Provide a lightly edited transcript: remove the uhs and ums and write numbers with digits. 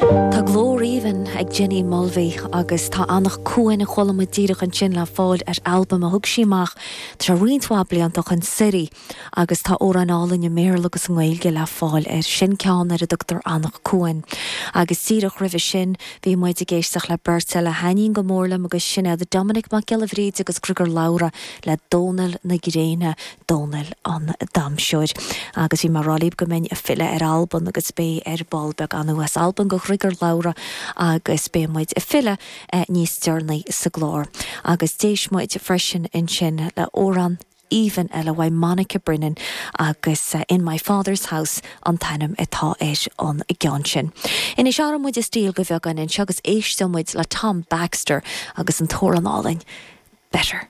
Tá glór aoibhinn ag Jenny Mulvey agus tá Eanach Cuain a chuala muid díreach ansin le fáil ar albam a thug sí amach tá sé roinnt mhaith blianta ó shin, Suirí, agus tá amhráin álainn i mBéarla agus i nGaeilge le fáil air. Sin ceann ar a dtugtar Eanach Cuain. Agus díreach roimhe sin bhí muid ag éisteacht le beirt eile a thaitníonn go mór liom agus sin iad Dominic Mac Giolla Bhríde agus Griogair Labhruidh le Dónal na Gréine. Dónal an Damhsóir. Agus bhí mé ag rá libh go mbeinn ag filleadh ar Albain agus beidh ar ball beag anú as Albain go Ghriogar Labhruidh agus beidh muid ag filleadh níos deireanaí sa gclár. Agus d'éist muid freisin ansin le amhrán aoibhinn eile uaidh Monica Brennan agus In My Father's House an t-ainm atá ar an gceann sin. Anois athróidh muid an stíl go beagán anseo agus éisteoidh muid le Tom Baxter agus an t-amhrán álainn Better.